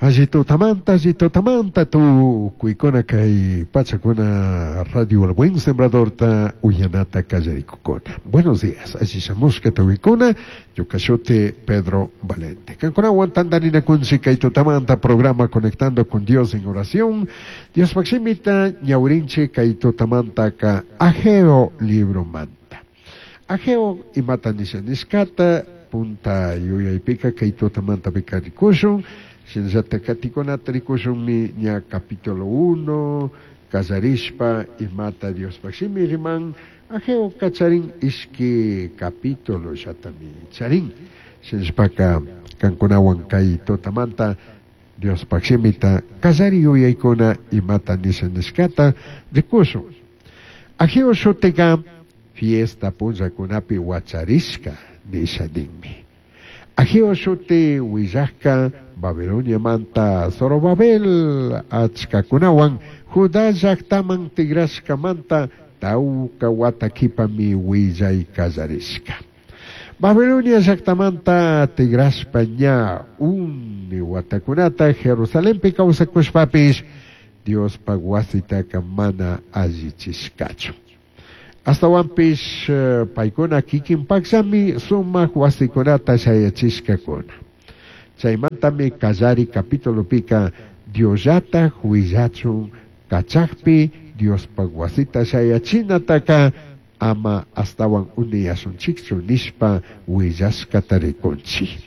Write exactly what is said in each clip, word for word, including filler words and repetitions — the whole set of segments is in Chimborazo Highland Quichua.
Alli tutamanta, alli tutamanta, tukuykuna kay pachakuna Radio El Buen Sembradorta uyanata kallarikukuna. Buenos días, alli shamushka tukuykuna, ñuka shuti Pedro Valente. Kankunawan tantarinakunchik kay tutamanta programa Conectando con Dios en Oración. Diospaj shimita ñawirinchik kay tutamantaka Ageo libromanta. Ageo imata nisha nishkata punta yuyaypika kay tutamanta pika rikushun. Shinallata katikunata rikushunmi ña capítulo uno, kallarishpa imata Diospaj shimi riman, Ageo kacharin ishki capítulo llatami charin. Shinashpaka kankunawan kay tutamanta Diospaj shimita kallari yuyaykuna imata nisha nishkata rikushun. Ageo shutika fiesta punllakunapi wacharishka nisha ninmi. Ageo shuti willajka Babiloniamanta Zorobabel achkakunawan Judá llaktaman tigrashkamanta tawka wata kipami willay kallarishka. Babilonia llaktamanta tigrashpa ña uni watakunata Jerusalenpi kawsakushpapish Diospaj wasitaka mana allichishkachu. Ashtawanpish paykuna kikinpakllami sumak wasikunata shayachishkakuna. Chaymantami kallari capitulopika Diosllataj willachun kachakpi Diospaj wasita shayachinataka ama ashtawan uniyashunchikchu nishpa willashkata rikunchik.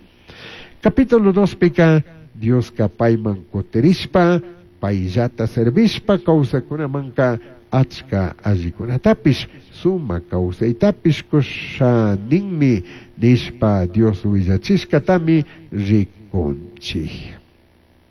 Capítulo dospika Dioska payman kutirishpa payllata servishpa kawsakunamanka achka allikunatapish sumak kawsaytapish kusha ninmi nishpa Dios willachishkatami rikunchik.